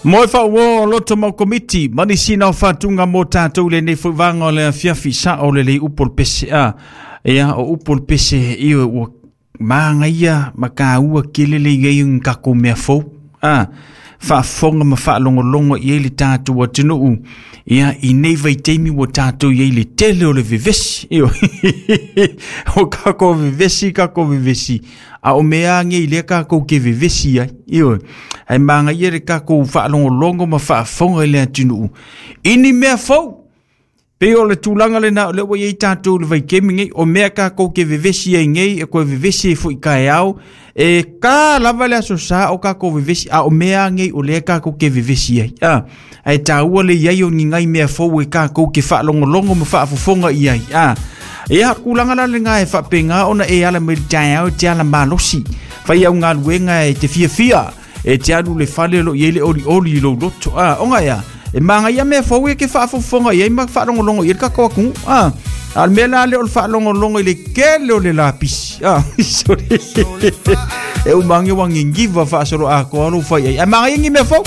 Mo e fauō loto mau komiti, ma nisi na o faatuga mo tatou i lenei foi vaega o le afiafi, sao lelei upu o le pese a. Ia, o upu o le pese, ioe, ua magaia ma kaua tele le i ai o ni tatou mea fou, a, faafofoga ma faalogologo i ai le tatou atunuu, ia, i nei vaitaimi ua tatou i ai i le tele o le vevesi, ioe, o tatou vevesi, tatou vevesi, a o mea lava nei lea tatou te vevesi ai, ioe, ae manaia le tatou faalogologo ma faafofoga i le atunuu i ni mea fou. Pei o le tulaga lena o lea ua i ai tatou i le vaitaimi nei, o mea tatou te vevesi ai nei, e toe vevesi ai foi taeao, e ta lava le aso sa o tatou vevesi, a o mea lava nei o lea tatou te vevesi ai. A, ae taua le i ai o ni nai mea fou e tatou te faalogologo ma faafofoga i ai. A, ia, tulaga la lena e faapena ona e ala mai i le taeao e te ala malosi, fai au galuega e te fiafia, e te alu i le fale o lo o i ai le olioli i lou loto. A, ona ea, e magaia mea fou ia ke faafofoga i ai ma faalogologo i ai le tatou atunuu. A, a o le mea la lea o le faalogologo i le tele o le lapisi. A, sorry. E uma ane ua niniva faasoloatoa lou fai ai. Ae magaia ni mea fou.